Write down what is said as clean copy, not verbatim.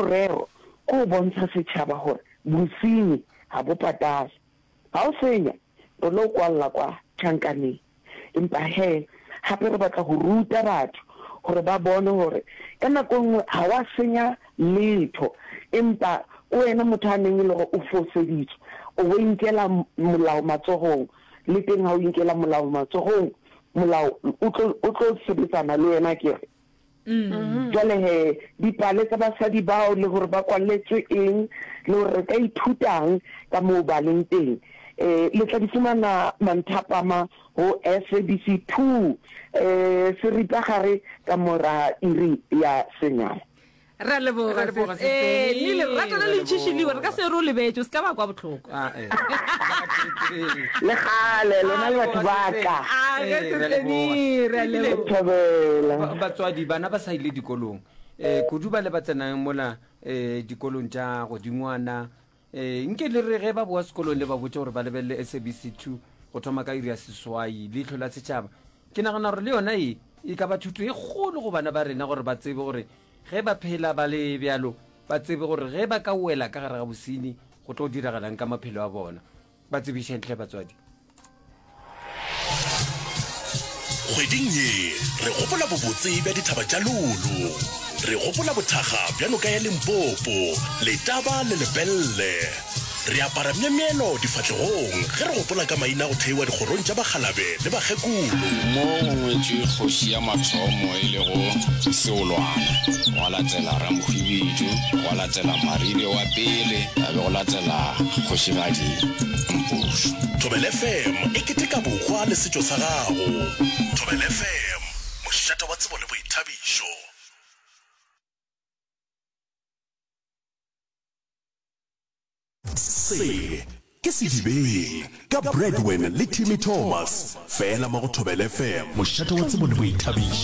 Morero ke go bontsha setšhaba gore bosenyi ga bo patale. Ga o senya, re lo kwalla kwa tšhankaneng. Empa he, gape re batla go ruta batho gore ba bone gore ka nako e nngwe ga wa senya letho, empa ke wena motho a neng e le gore o foseditswe, o bo inkela molao matsogong. Le teng ga o inkela molao matsogong, molao o tlo, o tlo sebetsana le wena akere. Jwale he, dipale tsa basadi bao le gore ba kwaletswe eng le gore re ka ithutang ka moo ba leng teng, eh, le tla di fumana manthapama ho SABC 2, eh, seripagare ka mora iri ya senyane. Re a leboga, Re a leboga, sis. Eh, Sis le lerato le Re a le ntšhišiliwe, re ka leboga. se re o lebetše, o se ka ba kwa bohloko. Ah, eh. Le kgale, lona le batho ba ka. Ah, ge Eh, re a Sis leboga. Annie, re a Ebile leboga. Thobela. ba- batswadi bana ba sa ile dikolong um kudu ba le ba tsenang mola um dikolong tša godingwana um nke le re ge ba boa sekolong le ba botse gore ba lebelele sabc 2 go thoma ka iri ya seswai leihlo la setšhaba ke nagana gore le yona e e ka ba thuto e kgolo go bana ba rena gore ba tsebe gore Ge ba phela ba le bjalo, ba tsebe gore ge ba ka wela ka gare ga bosenyi, go tlo diragalang ka maphelo a bona. Ba tsebišeng hle batswadi. Kgweding ye re gopola bobotse bja dithaba tša Lulu. Re gopola bothakga bja noka ya Limpopo, Letaba le Lepelle. Re apara myemyelo difahlegong ge re gopola ka maina a go theiwa dikgorong tša bakgalabe le bakgekolo. Mo go ngwetšwe kgoši ya mathomo e lego Seolwana, gwa latela Ramohwibidu, gwa latela Maribe wa pele, ya be go latela Kgošigadi Mpušo. Thobela FM e keteka bohwa le setšo sa gago. Thobela FM, mošate wa tsebo le boithabišo. Se ke Sedibeng ka Bradwin le Timmy Thomas, fela mo go Thobela FM, mošate wa tsebo le boithabišo.